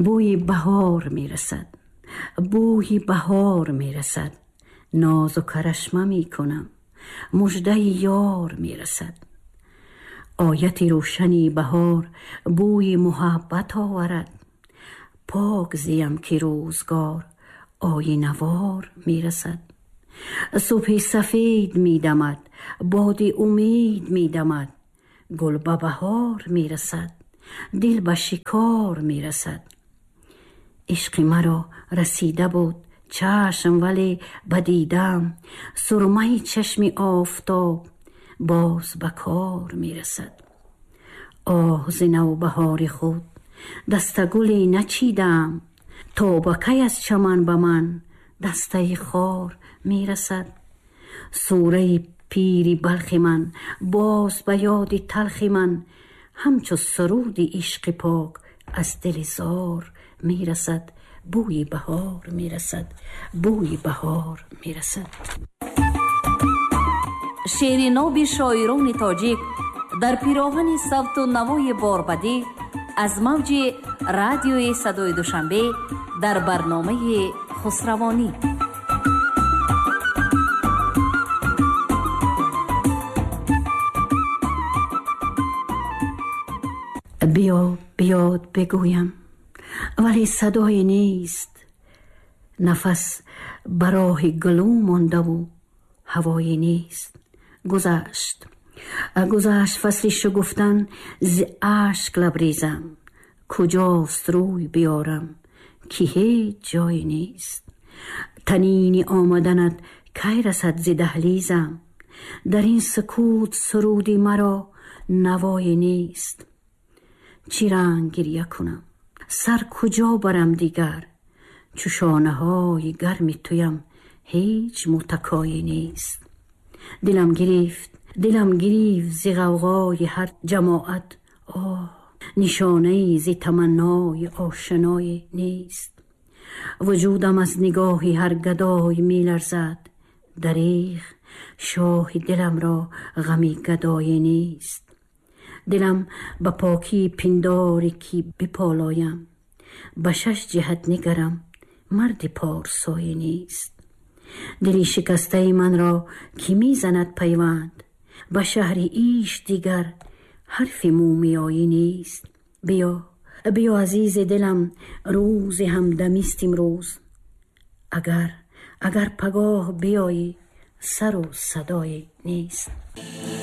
Бӯи баҳор мерасад, бӯи баҳор мерасад, нозу карашма мекунам, муждаи ёр мерасад. Ояти рӯшани баҳор бӯи муҳаббат оварад, пок зиям ки рӯзгор оинавор мерасад. Субҳи сафед медамад, боди умед медамад, гул ба баҳор мерасад, дил ба шикор мерасад. Ишқи маро расида буд чашм, вале ба дидам сурмаи чашми офтоб боз ба кор мерасад. Оҳ, зи навбаҳори худ дастагуле начидам, то ба кай аз чаман ба ман дастаи хор мерасад. Сураи пири Балхи ман боз ба ёди талхи ман, ҳамчу суруди ишқи пок аз дили зор мерасад. Бӯи баҳор мерасад, бӯи баҳор мерасад. Шеъри ноби шоирони тоҷик дар пироҳани савту навои борбадӣ аз мавҷи радиои садои Душанбе дар барномаи Хусравонӣ. Биё, биёд бигӯям, вале садое нест. Нафас ба роҳи гулӯ мондаву ҳавое нест. Гузашт, гузашт фасли шугуфтан, зи ашк лабрезам, куҷост рӯй биёрам, ки ҳеҷ ҷое нест. Танини омаданат кай расад зи даҳлизам, дар ин сукут суруди маро навое нест. Чӣ ранг гиря кунам, сар куҷо барам дигар, чу шонаҳои гарми туям ҳеҷ мутакое нест. Дилам гирифт, дилам гирифт зи ғавғои ҳар ҷамоат, оҳ, нишонае зи таманнои ошное нест. Вуҷудам аз нигоҳи ҳар гадой меларзад, дареғ шоҳи диламро ғами гадое нест. Дилам ба покии пиндоре ки биполоям, ба шаш ҷиҳат нигарам, марди порсое нест. Дили шикастаи манро ки мезанад пайванд, ба шаҳри иш дигар ҳарфи мӯмиёӣ нест. Биё, биё азизи дилам, рӯзи ҳамдамист имрӯз, агар, агар пагоҳ биёӣ, сару садое нест.